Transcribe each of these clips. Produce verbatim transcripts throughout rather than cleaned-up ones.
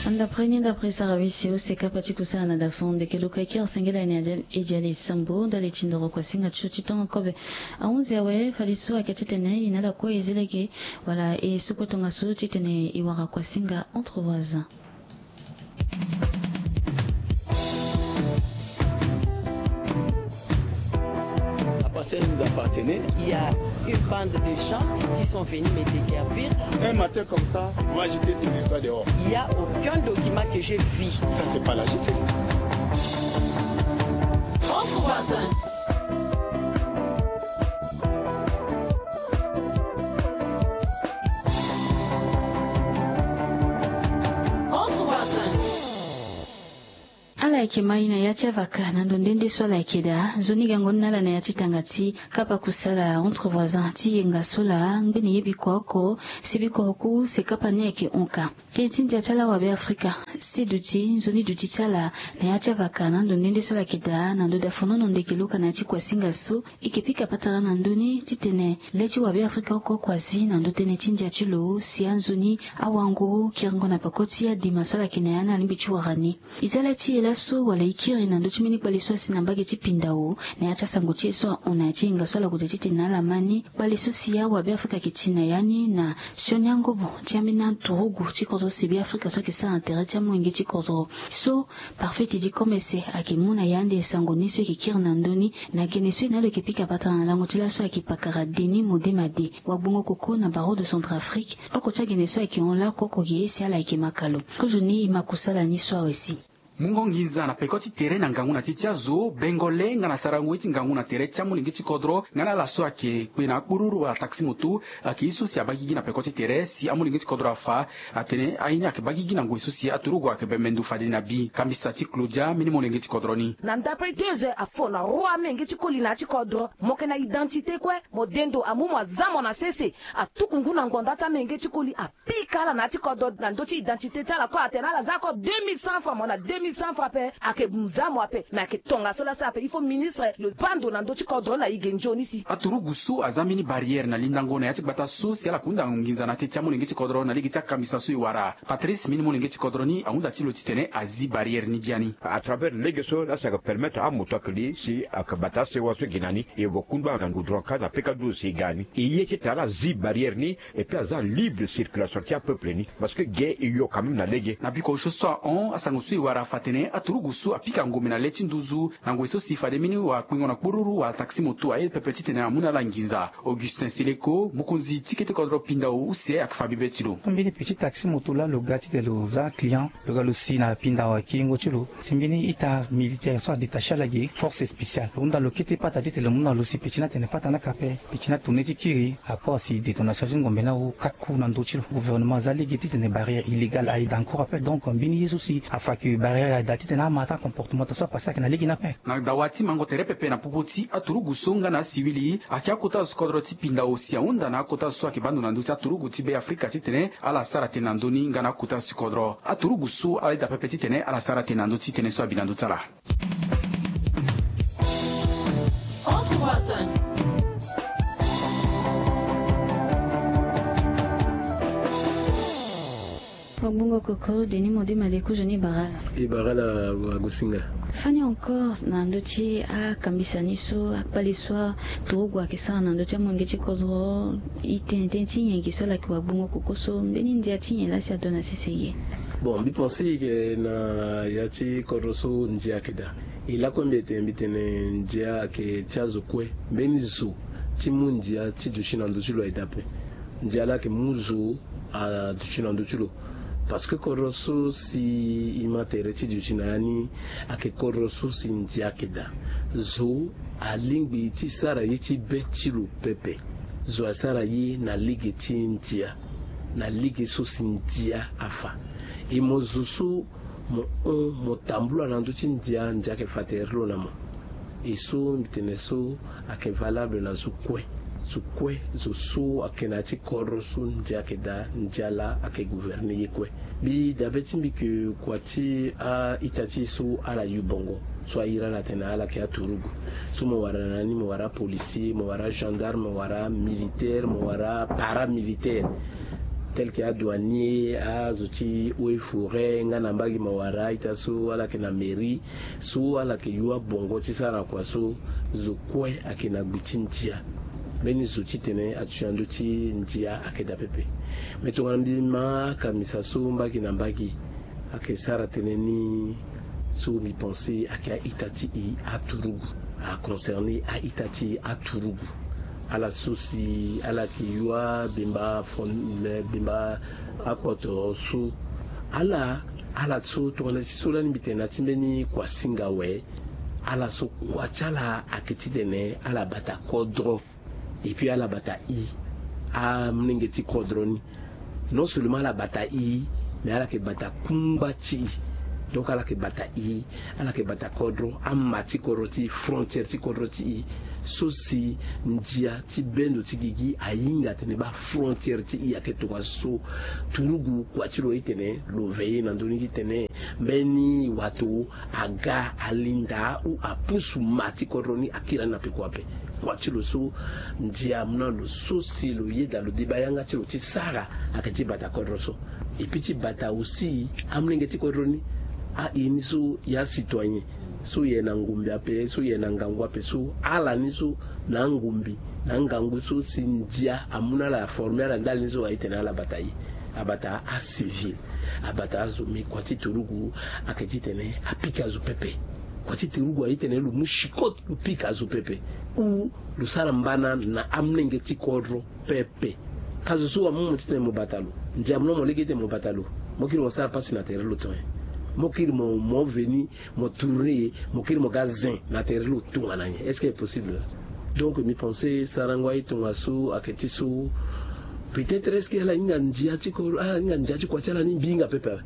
Ndapre ni ndapre sara wisi use kapa ti kusala na dafon ndeke luka e kiri sengela ene e dia li sambo ndali ti ndoro kuasinga ti so ti tongo kobe. Ahunzi awe fade so ayeke titene e na ala kue e zi lege wala e soko tongaso titene e wara kuasinga entre voisins. Après ça, il nous appartenait. Il y a une bande de gens qui sont venus me déguerpir. Un matin comme ça, moi j'étais tout le temps dehors. Il n'y a aucun document que j'ai vu. Ça, c'est pas la justice. Entre voisins. Entre voisins. Ala yeke mai na ya ti avaka na ndo nde nde so ala yeke daa. Nzoni gango ni na ala na ya ti tanga ti kapa kusala entre voisins ti yenga so laa ngbeni ye bikua oko. Si bikua oku se kapa ni ayeke hon ka. Tënë ti ndia ti ala wabe afrika. Si duti nzoni duti ti ala na ya ti avaka na ndo nde nde so ala yeke daa na ndo dafonono ndeke luka na ya ti kuasinga so. E yeke pika patara na ndö ni titene le ti wabeafrika oko oko azi na ndö tënë ti ndia ti lo si anzoni awango kiringo na peko ti adema so ala yeke na ya ni alingbi ti wara ni. E za le ti e laso wala e kiri na ndö ti mbeni kpale so asi na mbage ti pindao na ya ti asango ti e so ahon na ya ti hinga so ala kota titene na ala ma ni. Kpale so si awabeafrika ayeke ti na ya ni na sioni angobo ti ambeni aturugu ti kodro si beafrika so ayeke sara na tere ti amolenge ti kodro so. Parfait ti di komese ayeke mu na yande sango ni so e yeke kiri na ndö ni. Na gene so e na lo yeke pika patara na lango ti laso ayeke pakara deni modema de. Wagbongo koko na barreau de centrafrique. Oko ti agene so ayeke hon lakoko ye si ala yeke maka lo. Kozo ni e ma kusala ni so awe si. Mungo nginza na peko ti tere na ngangu na teti azo bengo le nga na sarango ye ti ngangu na tere ti amolenge ti kodro. Nga na ala so ayeke kpe na akpururu wala taxi moto. Ayeke ye so si abagigi na peko ti tere si amolenge ti kodro afa. Atene aye ni ayeke bagigi na ngoi so si aturugu ayeke bembe ndo fade na bi kambisa ti claudia mbeni molenge ti kodro ni. Na ndapre deux heures afo na roi amenge ti koli na ya ti kodro. Mo yeke na identité kue. Mo de ndo amu mo aza mo na sese. Atuku ngu na ngbonda ti amenge ti koli apika ala na ya ti kodro na ndö ti identité ti ala kue atene ala za ako deux mille cent francs mo na deux mille cent francs ape. Ayeke mu za mo ape me ayeke tongaso lasi ape il faut ministre lo baa ndo na ndö ti kodro na e ge nzoni si. Aturugu so aza mbeni barrière na lindango na ya ti gbata so si ala kunda nginza na teti amolenge ti kodro na lege ti akambisa so e wara. Patrice mbeni molenge ti kodro ni ahunda ti lo titene azi barrière ni biani. À travers lege so lasi ayeke permettre amoto ayeke li si ayeke bata asewa so e gi na ni. E vo kundu ala na ngudron ka na peka duo si e ga ni. E ye titene ala zi barrière ni. Et puis aza libre circulation ti apeuple ni. Parce que ge e yo quand même na lege. Na biko osio so ahon asango so e wara afa atene aturugu so apika ngombe na le ti nduzu. Na ngoi so si fade mbeni wakpingo na kpururu wala taxi moto aye pepe titene amu na ala nginza. Augustin seleko mokonzi ti kete kodro pindao use ayeke fa bibe ti lo. Mbeni petit taxi moto laa lo ga titene lo za client. Lo ga lo si na pindao akingo ti lo. Si mbeni ita militaire so adetache ala ge force spéciale lo hunda lo kete pata titene lo mu na lo si petit ni atene pata ni aka ape. Petit ni atourne ti kiri. Apo si detonation ti ngombe ni awu kaku na ndö ti lo. Gouvernement aza lege titene barrière illégale aye daa encore ape donc mbeni ye so si afa ke barrière aye daa titene ama ata comportement ta so apase ayeke na lege ni ape. Na dawa ti mango tere pepe na popo ti aturugu so nga na asiwili ayeke akota zo ti kodro ti pindao si ahunda na akota zo so ayeke baa ndo na ndö ti aturugu ti be afrika titene ala sara tënë na ndö ni nga na akota zo ti kodro. Aturugu so ala yeda pepe titene ala sara tënë na ndö ti tënë so abi na ndö ti ala. Entre voisins. Wagbongo koko denis modi maleku joni barala. E barala wagosinga. Fani encore na ndö ti akambisa ni so akpale so aturugu ayeke sara na ndö ti amolenge ti kodro. E tene tënë ti nyen gi so ala yeke wagbongo koko so mbeni ndia ti nyen laa si ato na sese ye? Bon mbi pense e yeke na ya ti kodro so ndia ayeke daa. E lakue mbi etene mbi tene ndia ayeke ti azo kue. Mbeni zo ti mu ndia ti duti na ndö ti lo aye daa ape. Ndia laa ayeke mu zo aduti na ndö ti lo. Parce que kodro so si e ma tere ti duti na ya ni ayeke kodro so si ndia ayeke daa. Zo alingbi ti sara ye ti be ti lo pepe. Zo asara ye na lege ti ndia. Na lege so si ndia afa. E mo zo so mo hon mo tambula na ndö ti ndia ndia ayeke fa tere ti lo na mo. E so mbi tene so ayeke valable na zo kue. Zo kue zo so ayeke na ya ti kodro so ndia ayeke daa ndia laa ayeke gouverne ye kue. Mbi dabe ti mbi ke kua ti a-ita ti e so ala yu bongo. So ahiri ala atene ala yeke aturugu. So mo wara na ni mo wara apolisier mo wara agendarme mo wara amilitaire mo wara aparamilitaire. tel que adouanier, azo ti eaux et forêts nga na mbage mawara, ita so ala yeke na mairie, so ala yeke yo abongo ti sara kua so zo kue ayeke na gbi ti ndia. Mbeni zo titene atuti na ndö ti ndia ayeke daa pepe. Me tongana mbi ma akamisa so mbage na mbage ayeke sara tënë ni, so mbi pense ayeke a-ita ti e aturugu, aconcerné a-ita ti e aturugu. Ala so si ala yeke yo abemba fon-, bemba akpoto so, ala, ala so tongana ti so lani mbi tene na ti mbeni kuasinga awe. Ala so kua ti ala ayeke titene ala bata kodro. Et puis ala bata e, amolenge ti kodro ni. Non seulement ala bata e, mais ala yeke bata kungba ti e. Donc ala yeke bata e, ala yeke bata kodro, ama ti kodro ti e, frontière ti kodro ti e. So si ndia ti bendo ti gigi ahinga atene baa frontière ti e ayeke tongaso. Turugu kua ti lo ye titene lo veiller na ndö ni titene mbeni wato aga alinda ou apusu ma ti kodro ni akiri ani na peko ape. Kua ti lo so ndia amu na lo so si lo yeda lo deba yanga ti lo ti sara ayeke ti bata kodro so. Et puis ti bata aussi amolenge ti kodro ni, aye ni so ya citoyen, so ye na ngumbi ape, so ye na ngangu ape, so ala ni so na angumbi na angangu so si ndia amu na ala, aformer ala ndali ni so aye tene ala bata e. Abata acivil, abata azo, mais kua ti turugu ayeke titene apika zo pepe. Kua ti turugu aye titene lo mu chicot lo pika zo pepe, ou lo sara mbana na amolenge ti kodro pepe. Ka zo so amu mo titene mo bata lo, ndia amu na mo lege titene mo bata lo, mo kiri mo sara pasi na tere ti lo ton e? Mo kiri mo, mo veni, mo tourner, mo kiri mo ga zen na tere ti lo tongana nyen? Est-ce que est possible? Donc mbi pense sarango aye tongaso ayeke ti so. Peut-être est-ce que ala hinga ndia ti ko, ala hinga ndia ti kua ti ala ni? Mbi hinga pepe awe.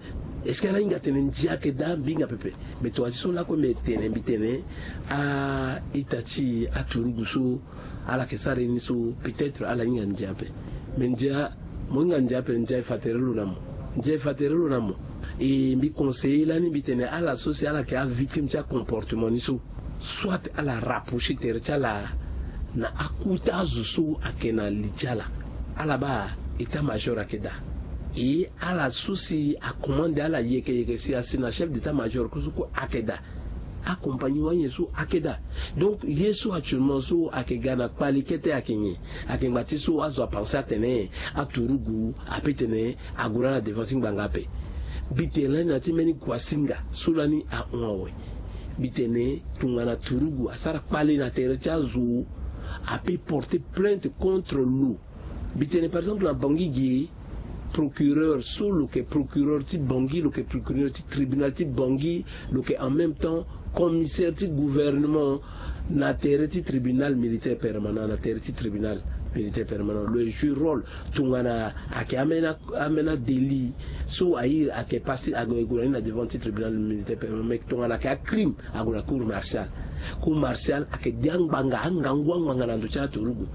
Est-ce que ala hinga tene ndia ayeke daa? Mbi hinga pepe. Mais tongaso lakue mbi tene, mbi tene a-ita ti aturugu so ala yeke sara ye ni so, peut-être ala hinga ndia ape. Mais ndia, mo hinga ndia ape, ndia e fa tere lo na mo. Ndia e fa tere lo na mo. E mbi conseiller lani mbi tene ala so si ala yeke avictime ti acomportement ni so, soit ala rapprocher tere ti ala na akota azo so ayeke na li ti ala. Ala baa état-major ayeke daa. E ala so si acommande ala yeke yeke si asi na chef d'état-major kue so kue ayeke daa. Akompagni wani nyen so ayeke daa. Donc ye so actuellement so ayeke ga na kpali kete ayeke nyen? Ayeke ngba ti so azo apense atene aturugu ape tene ague na ala devant ti ngbanga ape. Mbi tene lani na ti mbeni kuasinga so lani ahon awe. Mbi tene tongana turugu asara kpale na tere ti azo, ape porter plainte contre lo. Mbi tene par exemple na Bangui ge, procureur so lo yeke procureur ti Bangui, lo yeke procureur ti tribunal ti Bangui, lo yeke en même temps commissaire ti gouvernement na tere ti tribunal militaire permanent, na tere ti tribunal militaire permanent lo e jouer rôle. Tongana ayeke ambeni, ambeni adélit so aye ayeke passer, ague gue na ni na devant ti tribunal militaire permanent, mais tongana ayeke acrime ague na cour martiale. Cour martiale ayeke de angbanga, angangu angbanga na ndo ti aturugu.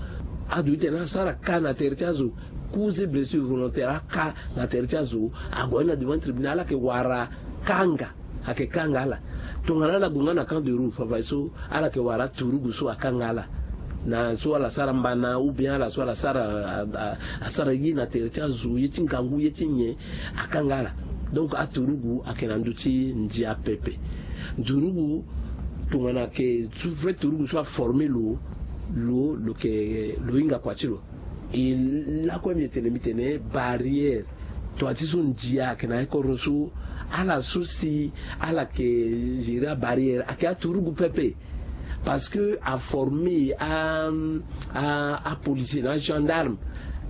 Adu ti tene asara ka na tere ti azo, cause blessure volontaire, aka na tere ti azo, ague na ni na devant tribunal, ala yeke wara kanga, ayeke kanga ala. Tongana ala gue nga na camp de Roule, fafadeso ala yeke wara aturugu so akanga ala. Na so ala sara mbana ou bien ala so ala sara, a, a, asara ye na tere ti azo, ye ti ngangu, ye ti nyen, akanga ala. Donc aturugu ayeke na ndö ti ndia pepe. Turugu, tongana ayeke so vrai turugu so aformer lo, lo, lo yeke, lo hinga kua ti lo. E lakue mbi tene, mbi tene barrière. Tongana ti so ndia ayeke na ya kodro so, ala so si ala yeke gérer abarrière ayeke aturugu pepe. Parce que aformer a, a, apolicier na agendarme,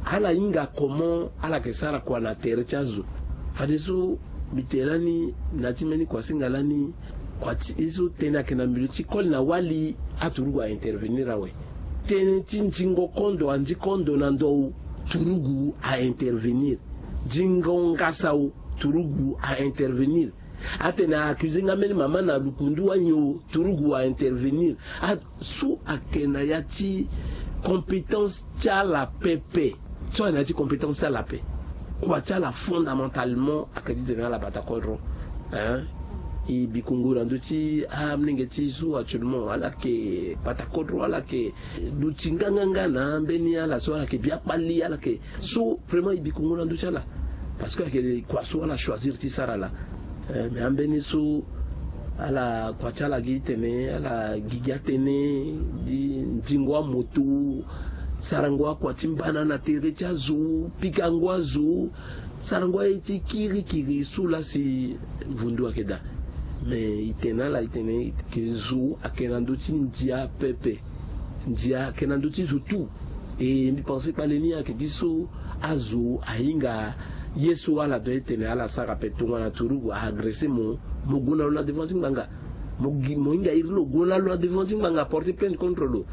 ala hinga comment ala yeke sara kua na tere ti azo. Fadeso mbi tene lani na ti mbeni kuasinga lani, kua ti e so tënë ayeke na milieu ti koli na wali, aturugu a intervenir awe. Tënë ti nzingo kondo, anzi kondo na ndö, turugu a intervenir. Zingo ngasa o, turugu a intervenir. Atene a accuser nga mbeni mama na lukundu wani o, turugu a intervenir. A, so ayeke na ya ti compétence ti ala pepe. So ayeke na ya ti compétence ti ala ape. Kua ti ala fondamentalement ayeke ti tene ala bata kodro. Hein? E bikongo na ndö ti amolenge ti so actuellement ala yeke pata kodro, ala yeke duti nganganga na ambeni ala so ala yeke biakpali, ala yeke so vraiment e bikongo na ndö ti ala. Parce que ayeke kua so ala choisir ti sara laa. Eh, mais ambeni so ala kua ti ala gi tene ala gigi atënë di ndingo amoto, sarango akua ti mbana na tere ti azo, pikango azo, sarango aye ti kirikiri so laa si vundu ayeke daa. Mais e tene na ala e tene ke zo ayeke na ndö ti ndia pepe. Ndia ayeke na ndö ti zo tout. E mbi pense kpale ni ayeke ti so azo ahinga ye so ala doit ti tene ala sara ape. Tongana turugu a agressé mo, mo gue na lo na devant ti ngbanga. Mo gi, mo hinga iri lo gue na lo na devant ti ngbanga, porter plainte contre lo.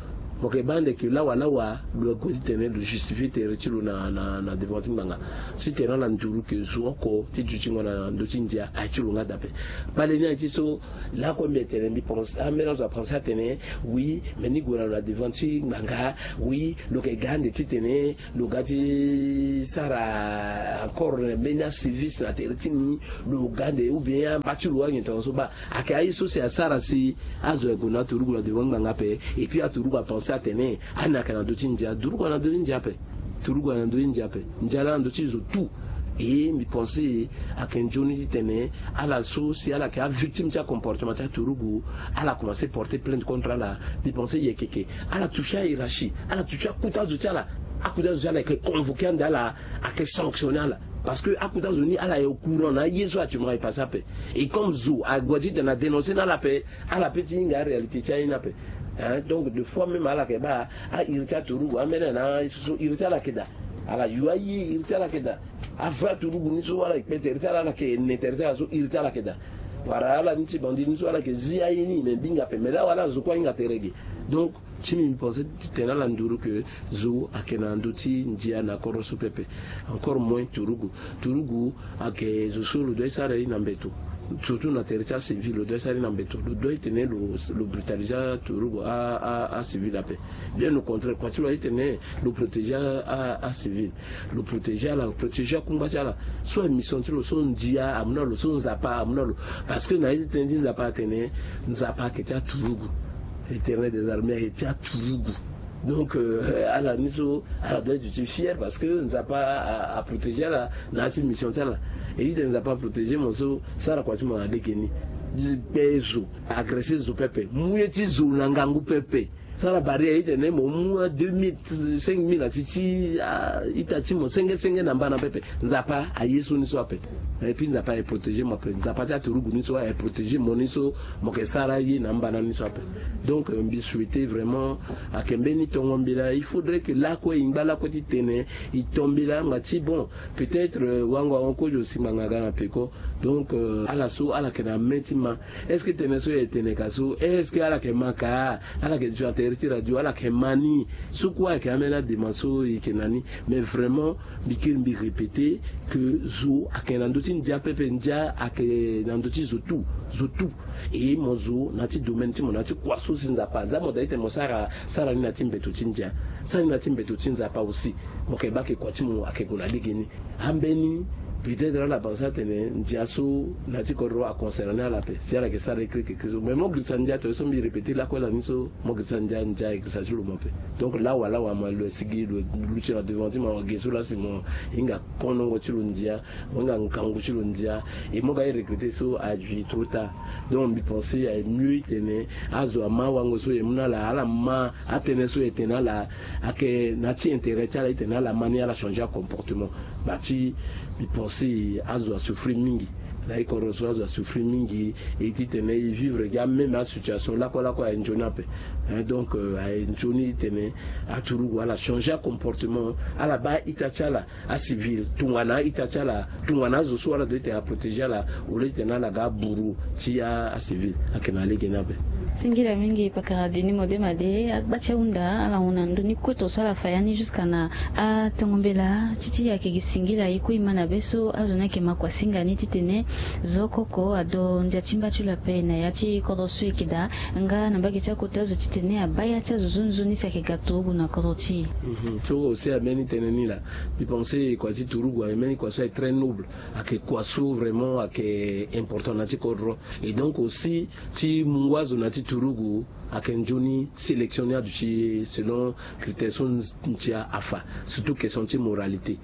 Mo yeke baa ande ke lawa lawa lo gue ti tene lo justifier tere ti lo na, na, na devant ti ngbanga. Si tene ala nduru ke zo oko ti dutingo na ndö ti ndia aye ti lo nga daa ape. Kpale ni aye ti so lakue mbi tene mbi pense, ambeni azo apense atene oui, mais ni gue na lo na devant ti ngbanga, oui, lo yeke ga ande ti tene lo ga ti sara encore mbeni aservice na tere ti ni, lo ga ande ou bien amba ti lo anyen tongaso baa. Ayeke aye so si asara si azo aye gue na aturugu na devant ngbanga ape. Et puis aturugu apense atene ani ayeke na ndö ti ndia. Turugu ayeke na ndö ti ndia ape. Turugu ayeke na ndö ti ndia ape. Ndia laa na ndö ti zo tout. E mbi pense ayeke nzoni ti tene ala so si ala yeke avictime ti acomportement ti aturugu, ala commencé porter plainte contre ala. Mbi pense yekeke ala touché ahiérarchie, ala touché akuta zo ti ala. Akuta zo ti ala ayeke convoqué ande ala, ayeke sanctionné ala. Parce que akuta zo ni ala est au courant na aye so actuellement ayeke passé ape. Et comme zo ague ti tene adénoncer na ala ape, ala peut ti hinga aréalité ti aye ni ape. Hein, donc de fois même ala yeke baa airi ti aturugu ambeni na aye so iri ti ala yeke daa. Ala yo aye iri ti ala yeke daa. Avrai aturugu ni so ala yeke kpe tere ti ala, ala yeke ne tere ti ala so iri ti ala yeke daa. Wala ala ni ti bandi ni so ala yeke zi aye ni me mbinga ape, mais laa wala azo kue ahinga tere ge. Donc ti mbi mbi pense ti tene ala nduru ke zo ayeke na ndö ti ndia na kodro so pepe. Encore moins turugu. Turugu ayeke zo so lo doit ti sara ye na mbeto. Surtout na tere ti acivil lo doit ti sara ye na mbeto. Lo doit ti tene lo, lo brutaliser aturugu a, a, acivil ape. Bien au contraire, kua ti lo aye ti tene lo protéger a, a, acivil. Lo protéger ala, lo protéger akungba ti ala. So aye mission ti lo so ndia amu na lo, so Nzapa amu na lo. Parce que na ye ti tënë ti Nzapa atene Nzapa ayeke ti aturugu. L'Éternel des armées ayeke ti aturugu. Donc euh, ala ni so ala doit ti duti fier parce que Nzapa a, a protéger ala na ya ti mission ti ala. E ti tene Nzapa a protéger mo so, sara kua ti mo na lege ni. Kpe zo, agresser zo pepe, mu ye ti zo na ngangu pepe. Sara barrière, e ti tene mo mu deux mille, cinq mille na ti ti a ita ti mo senge senge na mbana pepe. Nzapa aye so ni so ape. Et puis Nzapa aye protéger mo ape. Nzapa ti aturugu ni so aye protéger mo ni so mo yeke sara ye na mbana ni so ape. Donc euh, mbi souhaiter vraiment ayeke mbeni tongo mbela, il faudrait que lakue e ngba lakue ti tene e to mbela nga ti bon, peut-être euh, wango wango kozo si ngbanga aga na peko. Donc euh, ala so ala yeke na main ti ma. Est-ce que tënë so e tene ka so, est-ce que ala yeke ma ka? Ala yeke zo na tere ti radio, ala yeke ma ni? So kue ayeke ambeni adema so e yeke na ni. Mais vraiment mbi kiri mbi répéter que zo ayeke na ndö ti ndia pepe, ndia ayeke na ndö ti zo tout, zo tout. E mo zo na ya ti domaine ti mo, na ya ti kua so si Nzapa aza, mo da ti tene mo sara, sara ni na ya ti mbeto ti ndia, sara ni na ya ti mbeto ti Nzapa aussi. Mo yeke baa ke kua ti mo ayeke gue na lege ni. Ambeni peut-être ala pense atene ndia so na ya ti kodro aconcerné ala ape si ala yeke sara écrit quelque chose. Mais mo girisa ndia, tongaso mbi répéter lakue ala ni so, mo girisa ndia, ndia ayeke girisa ti lo mo ape. Donc lawa lawa mo lo sigi lo luti na devant ti mo, ge so laa si mo hinga konongo ti lo ndia, mo hinga ngangu ti lo ndia, e mo ga e regretter so aduit trop tard. Donc mbi pense aye mieux e tene azo ama awango so e mu na ala, ala ma atënë so e tene na ala, ayeke na ya ti intérêt ti ala e tene ala ma ni, ala changer acomportement. Bati mbi pense azo asouffrir mingi. Na e kodro so azo asouffrir mingi, e ti tene e vivre gi ameme asituation lakue lakue aye nzoni ape. Hein, donc euh, aye nzoni e tene aturugu ala changer acomportement, ala baa ita ti ala acivil tongana a-ita ti ala, tongana azo so ala doit ti tene aprotéger ala, au lieu ti tene ala ga aburu ti a, acivil. Ayeke na lege ni ape. Singila mingi pakara Denis Modema de. Agba ti ahunda ala hon na ndoni kue tongaso ala fa ya ni jusqu'à na atongo mbela ti ti ayeke gi singila ye kue e ma na be so azo ni ayeke ma kua singa ni titene zo oko oko ado ndia ti mba ti lo ape na ya ti kodro so e yeke daa. Nga na mbage ti akota zo titene abaa ya ti azo zo nzoni si ayeke ga turugu na kodro ti e. So aussi ambeni tene ni laa, mbi pense kua ti turugu ambeni kua so ayeke très noble, ayeke kua so vraiment ayeke important na ti kodro. Et donc aussi ti mungo azo na ti turugu ayeke nzoni sélection ni aduti selon critère so ndia afa. Surtout question ti moralité,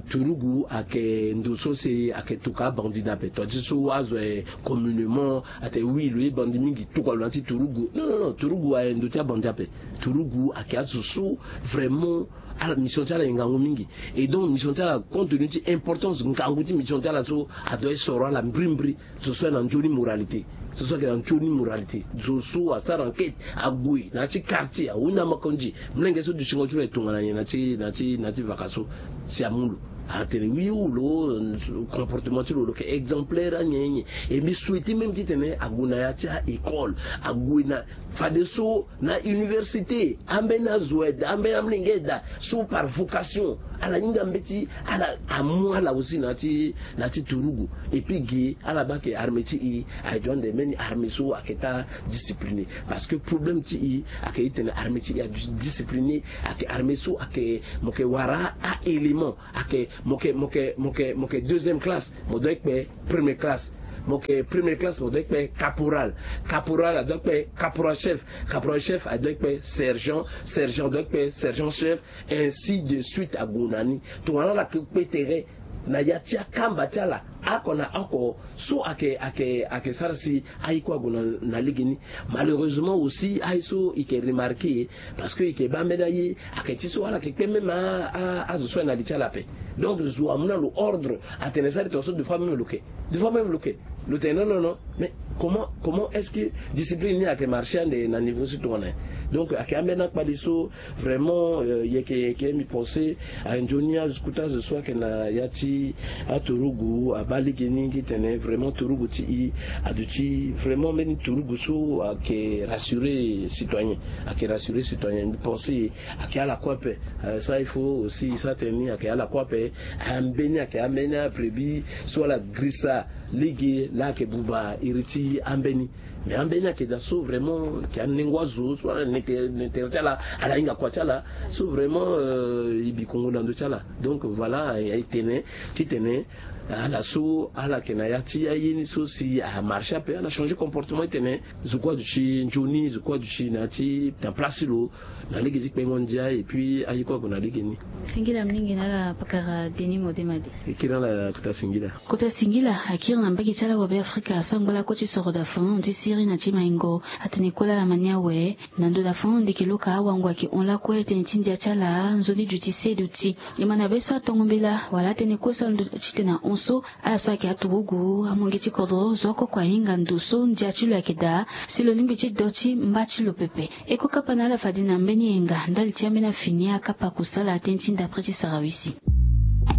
turugu ayeke ndo so si ayeke tokua abandi ni ape tua ti so azo aye communément atene oui lo ye bandi mingi tokua lo na ti turugu non non non turugu aye ndo ti abandi ape. Turugu ayeke azo so vraiment ala mission ti ala aye ngangu mingi. Et donc mission ti ala compte tenu ti importance ngangu ti mission ti ala so adoit soro ala mbrimbri. Zo so aye na nzoni moralité zo so ayeke na nzoni moralité zo so asara enquête ague na ya ti quartier ahunda makonzi. Molenge so dutingo ti lo aye tongana nyen na ti na ti na ti vaka so si amu lo atene oui ou lo comportement ti lo lo yeke exemplaire anyen nyen. E mbi souhaite même titene ague na ya ti a-école ague na fadeso na université ambeni azo aye daa ambeni amolenge aye daa so par vocation ala hinga mbeti ala amu ala aussi na ti na ti turugu. Et puis ge ala baa ke armée ti e aye doit nde mbeni armée so ayeke ta discipliné. Parce que problème ti e ayeke itene armée ti e adiscipliné ayeke armée so ayeke mo yeke wara a-élément ayeke mo yeke mo yeke mo yeke mo yeke deuxième classe mo doit kpe première classe. Mo yeke première classe mo doit kpe caporal. Caporal adoit kpe caporal chef. Caporal chef adoit kpe sergent. Sergent adoit kpe sergent chef. Ainsi de suite ague na ni tongana ala kpe tere na ya ti akamba ti ala oko na oko so ayeke ayeke ayeke sara si aye kue ague na lege ni. Malheureusement aussi aye so e yeke remarqué parce que e yeke baa mbeni aye ayeke ti so ala yeke kpe même azo so aye na li ti ala ape. Donc zo amu na lo ordre atene sara tongaso deux fois même lo yeke deux fois même lo yeke lo tene non non non. Mais comment comment est-ce que discipline ni ayeke marché ande na niveau so tongana nyen? Donc ayeke ambeni akpali so vraiment yeke yeke mbi pense aye nzoni azo kota azo so ayeke na ya ti aturugu abaa lege ni titene vraiment turugu ti e aduti vraiment mbeni turugu so ayeke rassurer citoyen. Ayeke rassurer citoyen mbi pense ayeke ala kue ape. Ça il faut aussi sa tene ni ayeke ala kue ape. Ambeni ayeke ambeni aprébi so ala girisa lege laa ayeke buba iri ti ambeni. Mais ambeni ayeke daa so vraiment ayeke anengo azo so ala na tere ti ala ala hinga kua ti ala. So vraiment e bi kongo na ndö ti ala. Donc voilà aye tene titene ala so ala yeke na ya ti aye ni so si amarché ape ala changer comportement titene zo kue aduti nzoni zo kue aduti na ya ti na place ti lo na lege ti kpengo ndia et puis aye kue ague na lege ni. Singila mingi na ala pakara Denis Modema de. E kiri na ala kota singila. Kota singila akiri na mbage ti ala wabe afrika so angba lakue ti soro dafon ti siri na ti maingo. Atene kue laa ala ma ni awe na ndo dafon nde yeke loka awango ayeke hon lakue tënë ti ndia ti ala nzoni duti se duti. E ma na be so atongo mbela wala atene kue so alondo titene ahon so ala so ayeke aturugu amonge ti kodro zo oko oko ahinga ndo so ndia ti lo ayeke daa. Si lo lingbi ti do ti mba ti lo pepe. E kue kapa na ala fade na mbeni yenga ndali ti ambeni afini akapa kusala tënë ti ndapre ti sarawisi.